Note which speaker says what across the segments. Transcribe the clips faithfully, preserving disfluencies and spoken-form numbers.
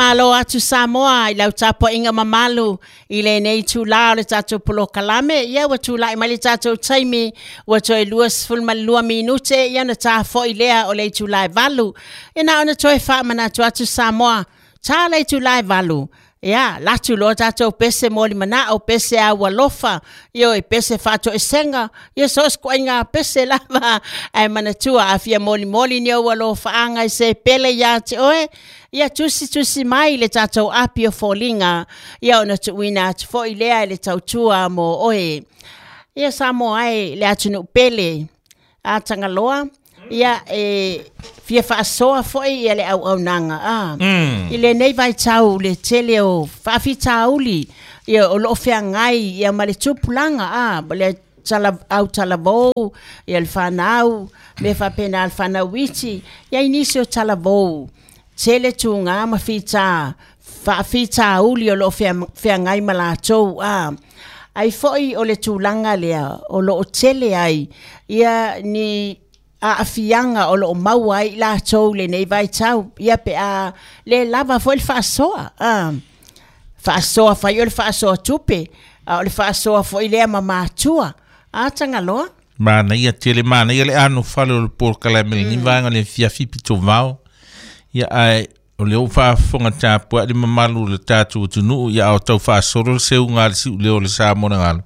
Speaker 1: Malo atu Samoa i lau tapuaiga mamalu i lenei itulā o le tatou polokalame. Ia ua tula'i mai le tatou taimi ua toe luasefulumalua minute ia ona tafo'i lea o le itulā e valu. Ia na ona toe faamanatu atu Samoa, tā le itulā e valu, ia latu loa tatou pese molimana'o, pese aualofa, ioe, pese faatoesega, ia so o se ituaiga pese lava ae manatua a fia molimoli ni ou alofaaga i se pele iā te oe, ia tusitusi mai le tatou api o foliga, ia ona tuuina atu foi lea e le tautua mo oe. Ia Samoa e le atunuu pele a Tagaloa, ia e fia faasoa foi ia le auaunaga a
Speaker 2: Mm.
Speaker 1: i lenei vaitau le tele o faafitauli ia o loo feagai ia ma le tupulaga a ma le tala, au talavou ia le fanau me faapena le fanau iti ia i nisi o talavou tele tuga ma fita faafitauli o loo fea- feagai ma latou a ai foi o le tulaga lea o loo tele ai ia ni aafiaga o loo maua ai i latou lenei vaitau ia pe a le lava foi le faasoa a faasoa fai o le faasoa tupe a o le faasoa foi lea ma matua a Tagaloa.
Speaker 2: Manaia tele, manaia le anofale o le polokalame lenei vaega le afiafi pito vao. Ia ae o lea ua faafofoga tapua'i le mamalu o le tatou atunuu ia a o tau faasolo le seuga a le si'uleo o le Samoa le galo.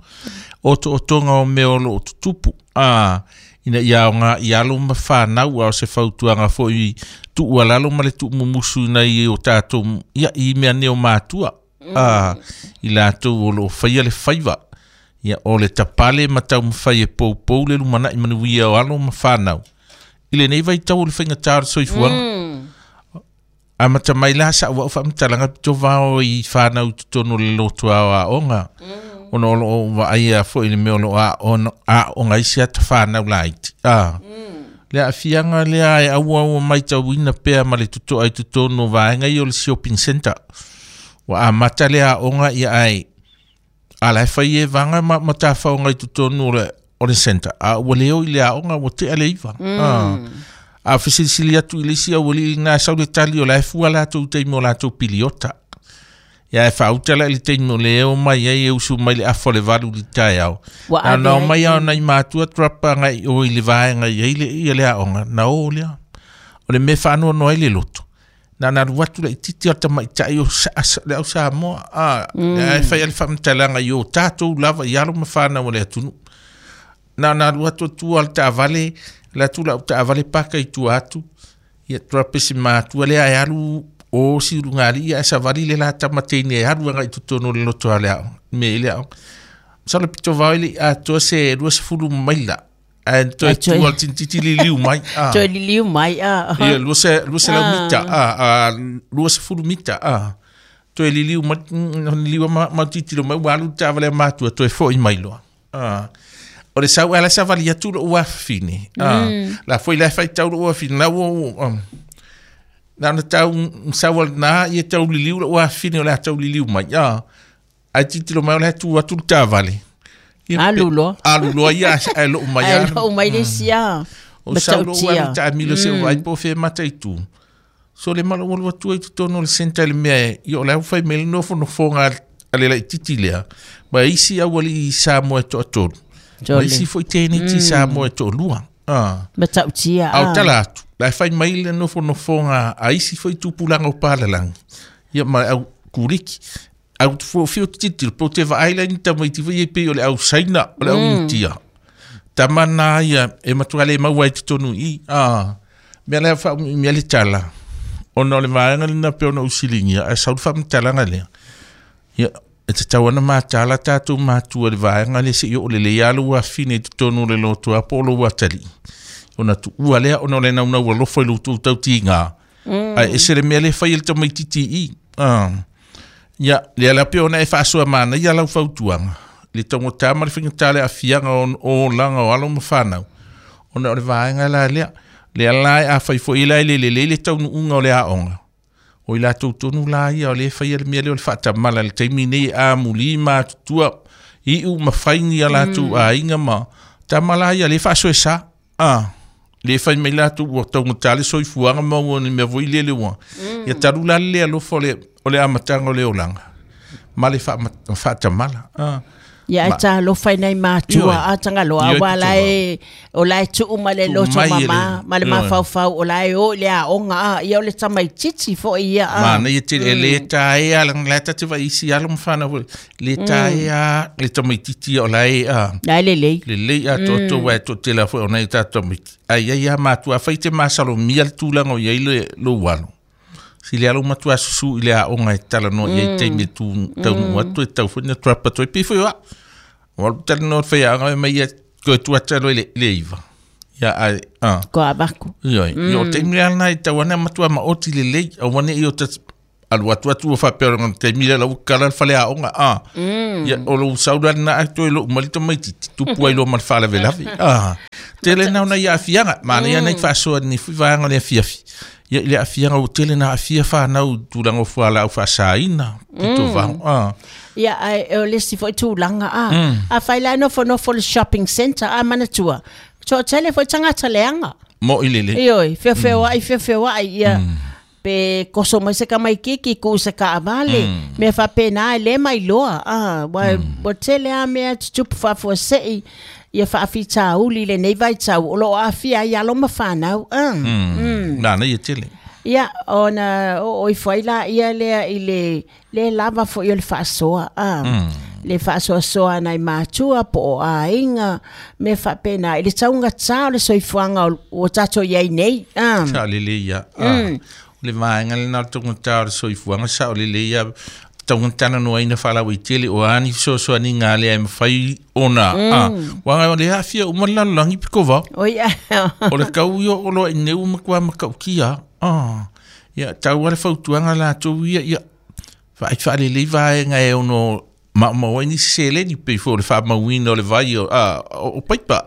Speaker 2: Otootoga o mea o loo tutupu a ina ia aogā i alo ma fanau a o se fautuaga foi tuualalo ma le tuumumusu ina ia o tatou ia i mea nei o matua a i latou o loo faia le faiva. Ia o le tapale ma taumafai e poupou le lumana'i manuia o alo ma fanau i lenei vaitau o le faigatā o le soifuaga.
Speaker 1: Mm.
Speaker 2: Amata mai la sa'u a'u faamatalaga pito vao i fanau i totonu o le loto aoaoga ona o loo vaaia foi le mea o loo aoga aoga ai se ata fanau laiti a le aafiaga lea e auau matauina pea ma le toto'a i totonu o vaega ia o le shopping center. Ua amata le aoga ia ae ala e fai e vaga ma, ma tafaoga i totonu o le o le center a ua le o i le aoga ua tea le iva a a fesilisili atu i le isi aualii lena sau le tali o la e fua latou taimi o latou piliota. Ia e faauta la i le taimi o le eo mai ai e usu mai le afa o le valu i le taeao.
Speaker 1: Ua
Speaker 2: Na
Speaker 1: ave
Speaker 2: na
Speaker 1: ai.
Speaker 2: Omai a o nai matua drop agai o i le vaega i ai le ia le aoga na o lea. O le mea faanoanoa ai le loto. Na na alu atu laitiiti o le tamaitai o sa, sa, le au Samoa a mm. E fai ale faamatalaga i o tatou lava i alo ma fanau o le atunuu. Na na alu atu tua le taavale le atu lau taavale paka i tua atu ia drop e si matua lea e alu o si ulugalii ia ae savali le la tamateine e alu agai totonu o le loto a le aoga me i le aoga. Masalo pito vao i le atoa se luasefulu maila ae toe
Speaker 1: Ai, toe-
Speaker 2: tua le tinititi liliu mai a
Speaker 1: Toe liliu mai a.
Speaker 2: ia lua se lua selau mita a a luasefulu mita a toe liliu mai mm, liliu ma ma titilo mai ua alu le taavale a matua toe fo'i mai loa a o le sau ala savali atu lo'u afafine a la foi la faitau lo'u afafine la ua um, na ona tau sau al na ia tau liliu lo'u afafine o le a tau liliu mai a ae titilo mai o le tu atu le taavale. Ia,
Speaker 1: Alu
Speaker 2: pe-
Speaker 1: loa.
Speaker 2: Alu loa ia ae loo mai
Speaker 1: Ai
Speaker 2: alu.
Speaker 1: loo mai le isi a.
Speaker 2: O sau lou
Speaker 1: Matautia.
Speaker 2: alu taamilo se vai po fe mataitu. So le malo alu atu ai totonu o le centre i le mea e ia o le au fai mai le nofonofoga a le laitiiti lea. Ma isi aualii i Samoa e toatolu. Ma
Speaker 1: Tole.
Speaker 2: isi foi teiniti Samoa e toalua. Ah.
Speaker 1: Matautia
Speaker 2: Au
Speaker 1: a.
Speaker 2: tala atu, la e fai mai le nofonofoga a isi foi tupulaga o palalagi. Ia ma le au kuliki. Au fu fiu titilo, po te vaai la ni tamaiti foi e pei o le au Saina, o le au Initia. Tama na ia e matua le maua i totonu i. Ah. Mea lea faaumiumia le tala. Ona o le vaega lena pe ona usiligia, ae sau le faamatalaga lea. Ia, e tatau ana matala tatou matua i le vaega lea seia oo lelei lava lou afine i totonu o le lotoa po o lou atalii. Ona tuua lea ona o le naunau alofa i lo outou tautigā. Ae ese le mea lea e fai e le tamaitiiti i. Ah. Ia, lea la pe ona e faasoa manaia lau fautuaga. Le taugata ma le faigata le aafiaga o o olaga o alo ma fanau. Ona o le vaega la lea. Lea la e afai foi la e le lelei le taunuuga o le aoga. O i latou tonu la ia o le faia le mea lea o le faatamala i le taimi nei amulī ma atutua iu ma faini a latou aiga ma tama la ia le faasoesa. Ah, le fai mai latou ua taugata le soifuaga ma ua ni mea foi lele ua. Ia talu la le alofa o le o le amataga o le olaga ma le faatamala a
Speaker 1: Ia e talofa i nai matua a tagaloa aua la e o la e tuu ma le loto mama ma le mafaufau o la e o i le aoga a ia o le tamaititi foi ia a.
Speaker 2: Manaia tele e lē taea la e tate vaai alo ma fanau foi lē taea le tamaititi o la e a.
Speaker 1: La e lelei.
Speaker 2: Lelei atoatoa uae toatele lava foi o nai o tatou tamaiti ae iai lava matua afai te masalomia le tulaga o iai le lou alo. Sili alo matua susu i le aoga e talanoa i ai taimi e tu taunuu atu e tau foi na tuapa atu ai pei foi o au. O alu talanoa le faiaoga mai ia koe tuata loa i le le iva. Ia ae a.
Speaker 1: Ko avaku.
Speaker 2: Ioe. Ia o taimi lea lena e tau ana matua maoti lelei aua ne i o ta alu atu atu ua faapea o taimi lea lau kala le faleaoga a. Ia o lou sau la lena ae toe lou mai le tamaititi tupu ai loa ma le faalavelave a. Tele na ona i aafiaga manaia nai faasoa ni fui vaega o le afiafi. Ia i le aafiaga ua tele na aafia fanau i tulaga o fualaau faasaina pito vago a.
Speaker 1: Ia ae o le isi foi tulaga a. Afai la e nofonofo le shopping centre a manatua. Toatele foi tagata leaga.
Speaker 2: Mo'i lelei.
Speaker 1: Ioe, feofeoa'i feofeoa'i ia pe koso mai se tamaikiki ku se kaavale mea faapena e lē mailoa a ua ua tele a mea tutupu faafuasei ia faafitauli lenei vaitau o loo aafia ai alo ma fanau a.
Speaker 2: Manaia tele.
Speaker 1: Ia ona oo ifo ai laia lea i le lē lava foi o le faasoa a. Le faasoasoa nai matua po o aiga mea faapena i le taugatā o le soifuaga ua tatou iai nei a.
Speaker 2: Sa lelei ia a. O le vaega lena o le taugatā o le soifuaga sa o lelei ia taugatana faalautele o ani fesoasoaniga lea e mafai ona a. Uaga o le aafia uma le lalolagi pitovao.
Speaker 1: Oi
Speaker 2: O le tau ia o loa i nei ua matua matautia a. Ia tau lava le fautuaga latou ia ia vaai faalelei vaega e ono maumau ai nisi seleni pei foi o le faamauina o le vai o a o paipa.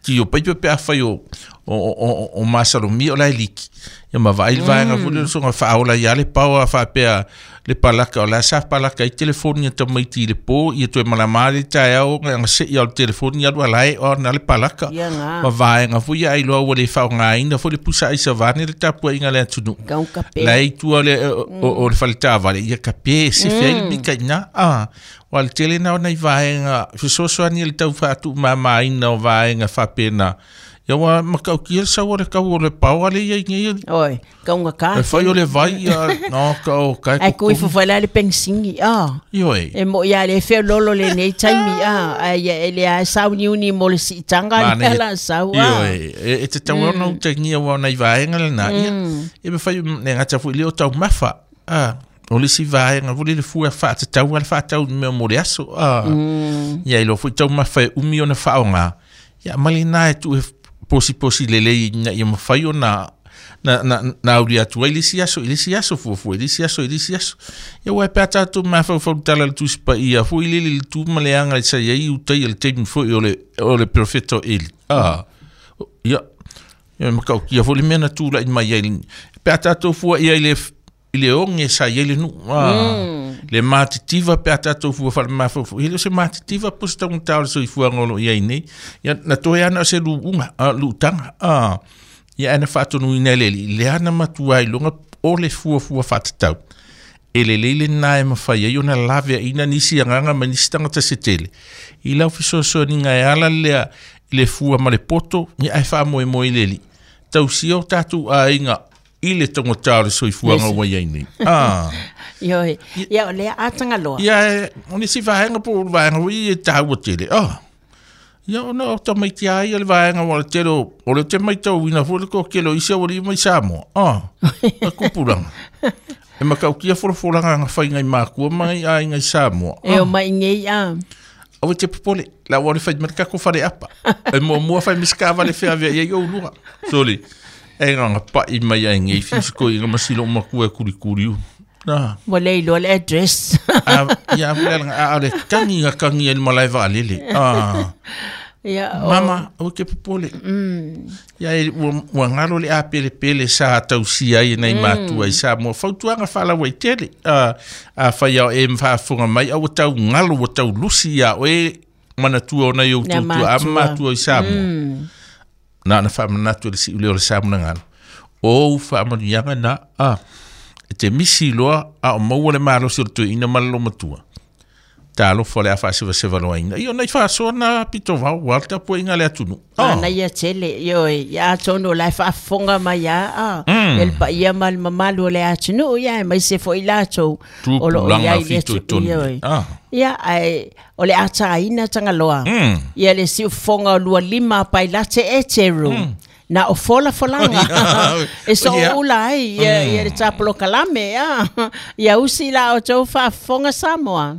Speaker 2: Ti o paipa pe afai o o o o masalomia o la e liki. Ia ma vaai le vaega foi lea o le soga faaola ia le pao a faapea le palaka o la sa palaka ai telefoni a tamaiti i le po ia toe malama le taeao aga seia o le telefoni alu alae o na le palaka.
Speaker 1: Ia ga.
Speaker 2: Ma vaega foi ia ailoa ua le faaaogaina foi le pusa aisa vaeane le tapuaiga a le atunuu.
Speaker 1: Kaukape.
Speaker 2: La e i tua o le o o le faletavale ia kape e sefe ai le mika i ina a. Ua le tele na o nai vaega fesoasoani i le tau faatuumamaina o vaega faapena. Ia ua matautia le sau o le tau o le paoa lea i nei.
Speaker 1: Oi, kaugata.
Speaker 2: E fai o le vai ia no ka o kai
Speaker 1: Ai kui fufu la le pensingi a.
Speaker 2: Ioe.
Speaker 1: E mo ia le feololo lenei taimi a. Ai ia e le a sauniuni mo le siitaga le la sau a.
Speaker 2: Ioe, e e tatau ona utagia ua nai vaega lena ia. E mafai le gata foi le o taumafa a. O le isi vaega foi le fua faatatau a le faatau i mea mo le aso a. Ia i loa foi taumafa e umi ona faaoga. Ia ma lena e tuu e posiposi lelei ina ia mafai ona na na na auli atu ai le isi aso i le isi aso fuafua i le isi aso i le isi aso. Ia uae pe a tatou mafaufau tala i le Tusi Paia foi lele i le tu ma le aga sa i ai utai le taimi foi o le o le perofeta o Eli. A. Ia ia matautia foi le mea na tulai mai ai pe a tatou fua ia i le i le oge sa i ai le nuu a. Le matitiva pe a tatou fua faale-mafaufau. E le o se matitiva po o se taugata o le soifuaga o loo i ai nei. Ia na toe ana o se luuga a luutaga a. Ia ae na faatonuina e le alii lea na matua iloga o le fuafua faatatau. E lelei lena e mafai ai ona laveaina nisi agaga ma nisi tagata se tele. I lau fesoasoaniga e ala lea i le fua ma le poto ia ae faamoemoe i le alii. Tausia o tatou aiga i le taugata o le soifuaga ua i ai nei. Ah.
Speaker 1: Ioe. Ia o lea atagaloa.
Speaker 2: Ia o nisi vaega po o le vaega foi e taua tele. Ah. Ia ona o tamaiti a ia le vaega ua le tele o o le te maitauina foi le toatele o isi aualii mai Samoa. Ah. A tupulaga. E matautia folafolaga na faiga i makua ma ngai aiga i Samoa.
Speaker 1: E o mai nei a.
Speaker 2: Aua te popole, la ua le fai mai le tatou faleapa. E muamua fai ma se taavale feaveai ai ou lua. Sole, e gaga pa'i mai ai nei fisikoiga ma silo matua e kulikuli u. Na.
Speaker 1: Ua le iloa le address.
Speaker 2: A, ia a le a o le kagi na kagi ai le malae vaalele. A.
Speaker 1: Ia o.
Speaker 2: Mama, aua te popole. Ia e ua ua galo le apelepele sa tausia ai e nai matua i Samoa. Fautuaga faalauaitele. A, afai ao e faafofoga mai aua tau galo ua tau lusi ia oe manatua o nai ou
Speaker 1: Nā
Speaker 2: tutua a
Speaker 1: matua.
Speaker 2: matua i Samoa. Na na faamanatu e le si'u lea o le sa monagalo. O ou faamanuiaga na a. E te misi loa a o maua le malosi o le toeaina ma le lomatua. Talofa o le a faasevasevaloaina. Ia ona i faasoa na pito vao, ua le tapuaiga a le atunuu.
Speaker 1: Oh. Ana ia tele, ioe, ia atonu o la e faafofoga mai lava, a, mm. le paia ma le mamalu o le atunuu, ia aemaise foi latou o lo o i ai i le atunuu, ioe. Ah. Ia, ae o le ataina Tagaloa, mm. ia le siufofoga o lua lima pailate eteru, mm. na o fola folanga e so ula ai ia, ia le tapolokalame, ia, ia usi la o tou faafofoga Samoa.